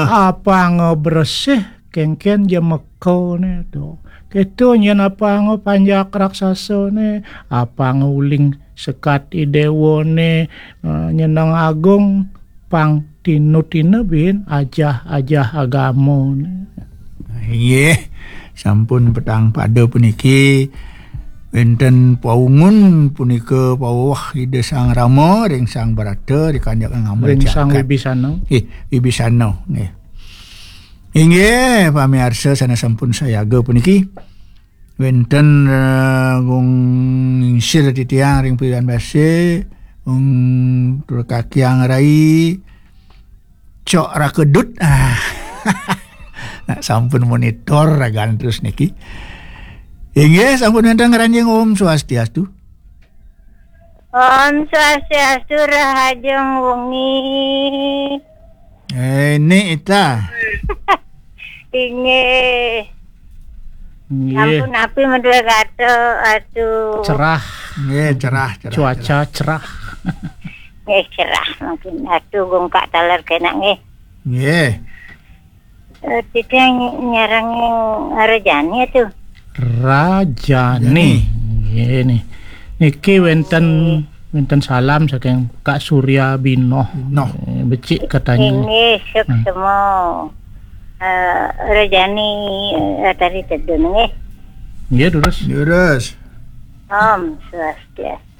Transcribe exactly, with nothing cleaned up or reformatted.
Apang bresih kéngkén jemekané to. Kéto yén apang panjak raksasané, apang uling sekat i déwané, eh, nyeneng agung pang tinutina bin ajah-ajah agamané. Inggih, sampun petang pada puniki wénten paungun punika paweweh Ida Sang Rama ring Sang Brata ri kanjeng ngamel Ring Sang jagat. Wibisana. Nggih, Wibisana, nggih. Inggih, pamiarsa sané sampun sayaga puniki. Wénten, eh, gung ngingsir titiang ring Pilihan Basa, gung tur kakiang rai, Cok Rakedut. Ah. Nah, sampun monitor ragan terus niki. Inggih, sampun wénten ngranjing. Om Swastiastu. Om Swastiastu, rahajeng wengi. Eh, ini ita. Inggih. Nggih. Sampun napi madué kata, aduh. Cerah. Nggih, cerah, cerah, Cuaca cerah. Cerah. Nggih, cerah mungkin. Aduh, gongkak taler kénak nggih. Nggih. Eh, titiang nyarengin Rajani atuh. Rajani. Jani. Nggih nih. Niki wénten, wénten salam saking Kak Surya Binoh. Noh. Eh, becik katanya. Inggih, suksma. Hmm. Eh, Rajani, eh, tari tedun nggih. Nggih, terus. Terus. Om Swastiastu.